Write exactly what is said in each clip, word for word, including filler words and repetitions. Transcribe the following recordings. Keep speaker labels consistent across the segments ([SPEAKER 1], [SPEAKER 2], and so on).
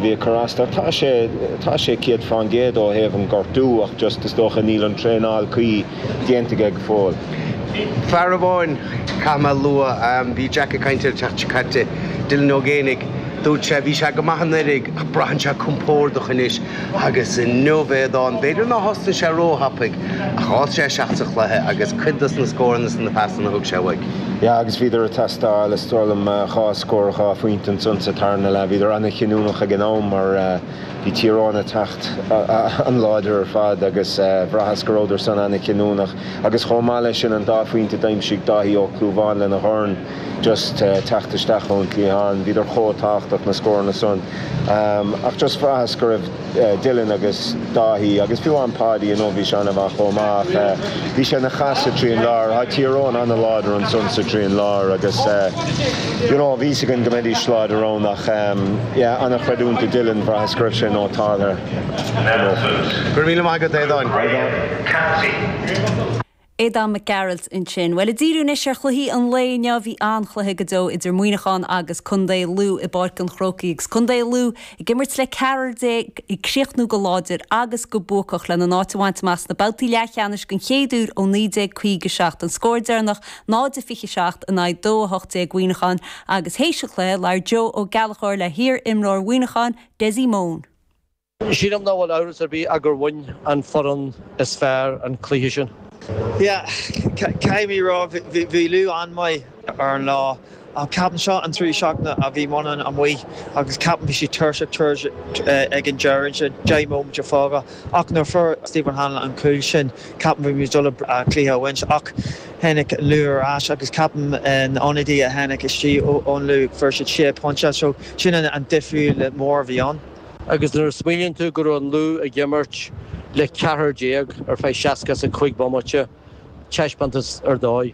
[SPEAKER 1] bhí ag cur as dó. Tá sé tá sé céad faoin gcéad ó thaobh an gortú ach just is dócha níl an traenáil cuí déanta aige go fóill.
[SPEAKER 2] Fear amháin caithfidh mé a lua, bhí Jack ag caint air an tseachtain seo caite, Dylan Ó Géibheannaigh, dúirt sé, bhí sé go maith anuraidh ach braitheann sé compordach anois agus inniu Aodán, b'fhéidir nár thosnaigh sé róthapaidh ach d'fhás sé isteach sa chluiche agus cuid dos na scóranna is na pasanna a thug sé uaidh.
[SPEAKER 1] Yeah agus bhíodar ag teastáil, is dóigh liom, dhá scór, dhá phointe ansan sa tarna leath. Bhíodar an-chinniúnach ag an am mar bhí Tír Eoghain ag teacht an-láidir ar fad agus bhraitheas go rabhadar san an-chinniúnach agus chomh maith leis sin an dá phointe d'aimsigh Dáithí Ó Clúmháin lena dhorn just teacht isteach ón chliathán. Bhíodar chomh tábhachtach na scóranna san. Ach just bhraitheas go raibh Dylan agus Dáithí agus fiú amháin Páidí inniu bhí sé an-mhaith chomh maith ach bhí sé ina chasadh trín lár. Tá Tír Eoghain an-láidir ansan sa trín lár agus you know bhí fhios againn go mbeidís láidir ann ach yeah an-chreidiúint do Dylan bhraitheas go raibh sé nótáltha inniu.
[SPEAKER 2] Go raibh míle maith agat Aodáin.
[SPEAKER 3] Aodán Mac Gearailt ansin. Bhuel, ag díriú anois ar chluichí an lae inniu, bhí an-chluiche go deo idir Muineachán agus Contae Lú i bPáirc an Chrócaigh agus Contae Lú ag imirt le ceathrar déag ag críochnú go láidir agus go buacach lena n-áit a bhaint amach sna babhtaí leathcheannais den chéad uair ó naoi déag caoga seacht. An scór deireanach náid a fiche seacht in aghaidh dó a hocht déag Mhuineacháin agus théis an chluiche labhair Joe Ó Gallchóir le hiar-imreoir Mhuineacháin, Dessie Mone.
[SPEAKER 4] Sílim nach bhfuil amhras ar bith ach gur bhain an foireann is fearr an cluiche sin.
[SPEAKER 5] Yeah, caithfidh mé rá bhí Lú an-mhaith ar an lá. Ach ceapaim seo an trí seachtaine a bhí Muineachán amuigh agus ceapaim bhí siad tuirseach tuirseach ag an deireadh sin deich móimint fágtha ach nuair a fuair Stephen Hanlon an cúl sin ceapaim bhí muid dul a cluiche a bhaint ach tháinig Lú ar ais agus ceapaim na ionadaí a tháinig istigh ón Lú fuair siad sé pointe so sin an difriúil mór a bhí ann.
[SPEAKER 4] Agus nuair a smaoiníonn tú go raibh an Lú ag imirt le ceathrar déag ar feadh seasca is a cúig bomaite, taispeántas ar dóigh.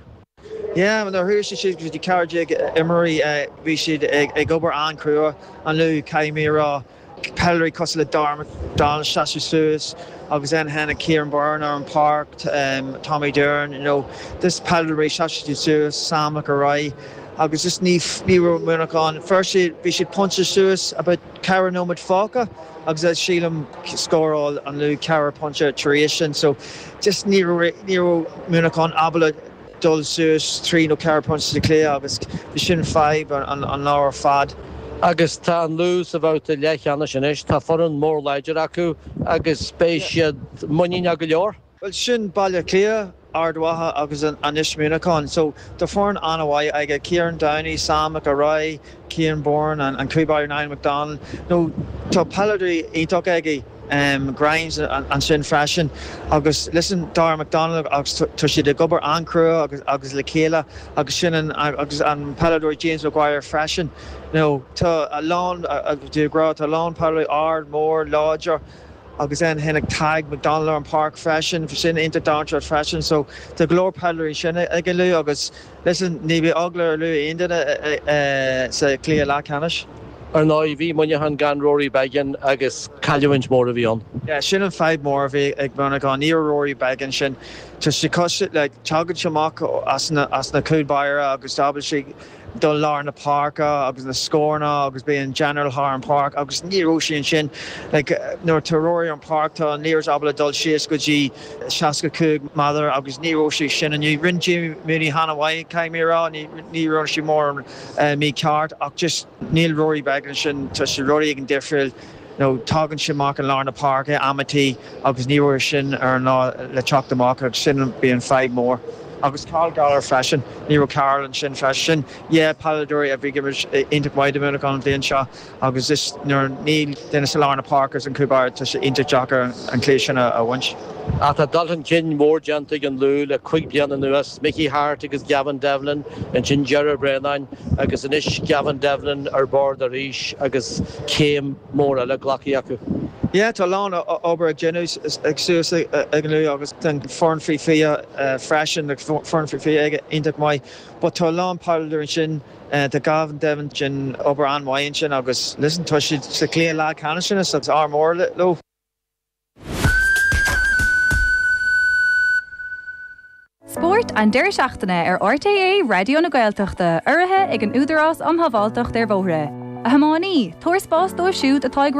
[SPEAKER 5] Yeah, nuair a chuaigh siad go dtí ceathrar déag imreoirí bhí siad ag obair an-chrua an Lú caithfidh mé a rá. Peileadóirí cosúil le Dara McDonald seasamh suas agus then tháinig Kieran Byrne ar an páirc, Tommy Dillon, you know, this peileadóirí sheasamh siad suas, Sam McElroy agus just ní ní raibh Muineachán. Fuair siad bhí siad pointe suas about ceithre nóiméad fágtha agus sílim scóráil an Lú ceithre pointe tar éis sin so just ní raibh ní raibh Muineachán ábalta dul suas trí nó ceithre pointe sa chluiche agus bhí sin fadhb an, an lá ar fad.
[SPEAKER 4] Agus tá an Lú sa bhabhta leathcheannais anois, tá foireann mór láidir acu agus beidh siad muiníneach go leor.
[SPEAKER 5] Well sin Baile Átha Cliath, Ard Mhacha agus anois Muineachán. So tá foireann an-mhaith aige Kieran Downey, Sam McElroy, Cian Bourne an, an cúl báire Niall McDonald. No tá peileadóirí iontach aige. Um, Grimes ansin freisin agus listen Dara McDonald agus tá siad ag obair an-chrua agus, agus le chéile agus sin an, agus an peileadóir James Maguire freisin. No, tá a lán grá tá a lán peileadóirí ard mór láidir agus then tháinig Tadhg McDonald ar an páirc freisin sin iontach dainséarach freisin so tá go leor peileadóirí sin ag an Lú agus listen ní bheidh eagla ar Lú aon duine sa chluiche leathcheannais.
[SPEAKER 4] Ar ndóigh bhí Muineachán gan Rory Beggan agus cailliúint mór a bhí ann.
[SPEAKER 5] Yeah, sin an fadhb mór a bhí ag Muineachán ní Rory Beggan sin Tá sé cos le tagann sé amach as na, as na cúl báire agus ábalta sé dul lár na páirce agus na scóranna agus bíonn general thar an páirc agus ní raibh sé ansin like, nuair tá Rory an páirc tá an liathróid ábalta dul síos go dtí seasca cúig méadar agus ní raibh sé sin inniu. Rinne Jimmy Mooney an-mhaith caithfidh mé rá ní ní raibh sé mór uh, mícheart ach just níl Rory Beggan sin tá sé rudaí ag an difriúil nó tagann sé amach an lár na páirce amaí agus ní raibh sin ar an lá le teacht amach agus sin bíonn fadhb mór. Agus Karl Gallagher freisin ní raibh Karl ansin freisin yeah peileadóirí a bhí iontach maith do Mhuineachán an bhliain seo agus is nuair níl duine sa lár na páirce an cúl báire tá sé iontach deacair an cluiche sin a bhaint.
[SPEAKER 4] Ach tá dul chun cinn mór déanta ag an Lú le cúig bliana anuas, Mickey Harte agus Gavin Devlin, ansin Ger Brennan agus anois Gavin Devlin ar bord arís agus céim mór eile glactha acu.
[SPEAKER 5] Yeah, tá lán obair ag déanamh ag suas ag an Lú agus den foireann faoi fiche freisin foireann faoi fiche ag iontach maith, but tá lán peileadóirí ansin tá Gavin Devlin sin obair an-mhaith ansin agus listen tá siad sa chluiche leathcheannais sin agus ádh mór leo.
[SPEAKER 6] Spórt an deireadh seachtaine ar RTÉ Raidió na Gaeltachta urraithe ag an Údarás um Shábháilteacht ar Bhóithre. A thiománaí, tabhair spás dóibh siúd atá ag